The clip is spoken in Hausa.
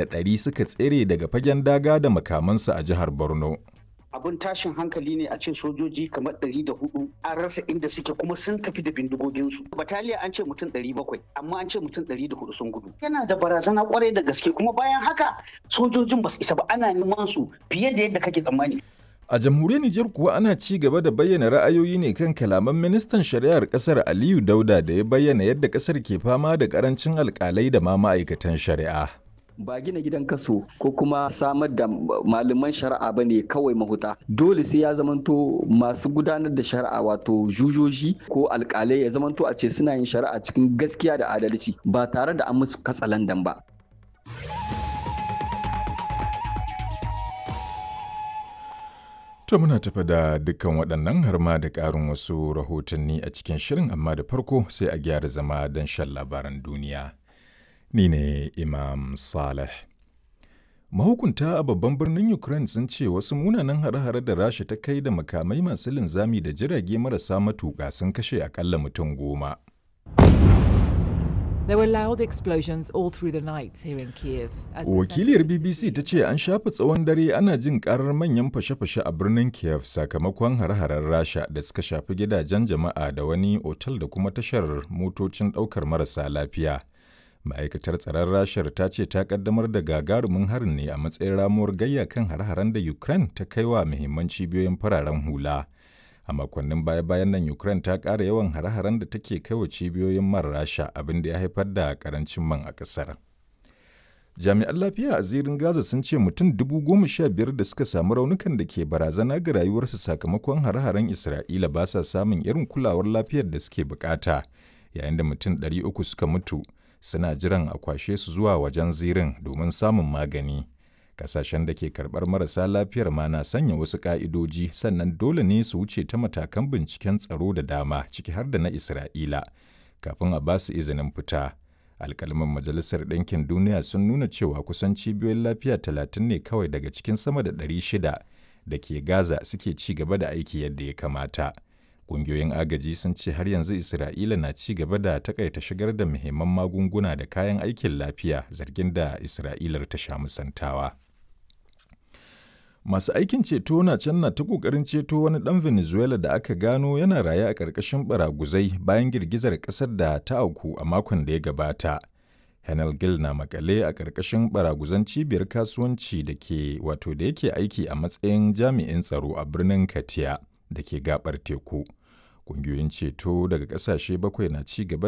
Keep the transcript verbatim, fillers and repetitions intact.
ɗari suka tsere daga fagen daga da makamansu a jihar Borno. Abin tashin hankali ne a ce sojoji kamar ɗari da hudu an rasa inda suke kuma sun tafi da bindigoginsu. Bataliya an ce mutum ɗari bakwai, amma an ce mutum ɗari da hudu sun gudu. Yana da barazana kwarai da gaske, kuma bayan haka sojojin ba su isa ba, ana neman su fiye da yadda kake tsammani. A jamhuriyar Nijar kuwa ana ci gaba da bayyana ra'ayoyi ne kan kalaman ministan shari'ar kasar Aliyu Dauda da ya bayyana yadda kasar ke fama da karancin alkalai da ma ma'aikatan shari'a. Ba gina gidan kaso ko kuma samar da malaman shari'a ba ne kawai mahuta. Dole sai ya zamanto masu gudanar da shari'a, wato jujoji ko alkalai, ya zamanto a ce suna yin shari'a cikin gaskiya da adalci ba tare da an musu katsalandan ba. To muna tafa da dukkan waɗannan har ma da ƙarin wasu rahotanni a cikin shirin, amma da farko sai a gyara zama don shan labaran duniya. Ni ne Imam Saleh. Mahukunta a babban birnin Ukraine sun ce wasu munanan hare-hare da Rasha ta kai da makamai masu linzami da jirage marasa matuƙa sun kashe akalla mutum goma. There were loud explosions all through the night here in Kiev. As the Wakiliyar center of the B B C city- ta ce an shafe tsawon dare ana jin karar manyan fashe-fashe a birnin Kiev sakamakon hare-haren Rasha da suka shafi gidajen jama'a da wani otal da kuma tashar motocin ɗaukar marasa lafiya. Ma'aikatar tsaron Rashar ta ce ta kaddamar da gagarumin harin ne a matsayin ramuwar gayya kan hare-haren da Ukraine ta kai wa muhimman cibiyoyin fararen hula. A makonnin baya-bayan nan Ukraine ta ƙara yawan hare-haren da take kai wa cibiyoyin man Rasha, abin da ya haifar da ƙarancin man a ƙasar. Jami'an lafiya a zirin Gaza sun ce mutum dubu goma sha biyar da suka samu raunukan da ke barazana ga rayuwarsu sakamakon hare-haren Isra'ila ba sa samun irin kulawar lafiyar da suke bukata, yayin da mutum ɗari uku suka mutu suna jiran a kwashe su zuwa wajen zirin domin samun magani. Kasashen da ke karɓar marasa lafiyar ma na sanya wasu ƙa'idoji, sannan dole ne su wuce ta matakan binciken tsaro da dama, ciki har da na Isra'ila, kafin a ba su izinin fita. Alkalman Majalisar Ɗinkin Duniya sun nuna cewa kusan cibiyoyin lafiya talatin ne kawai daga cikin sama da ɗari shida da ke Gaza suke ci gaba da aiki yadda ya kamata. Ƙungiyoyin agaji sun ce har yanzu Isra'ila na ci gaba da takaita shigar da muhimman magunguna da kayan aikin lafiya, zargin da Isra'ilar ta sha musantawa. Masu aikin ceto na can na ta ƙoƙarin ceto wani ɗan Venezuela da aka gano yana raye a ƙarƙashin baraguzai bayan girgizar ƙasar da ta auku a makon da ya gabata. Henel Gil na makale a ƙarƙashin baraguzan cibiyar kasuwanci da ke wato da yake aiki a matsayin jami'in tsaro a birnin Katia da ke gabar teku. Ƙungiyoyin ceto daga ƙasashe bakwai na ci gaba da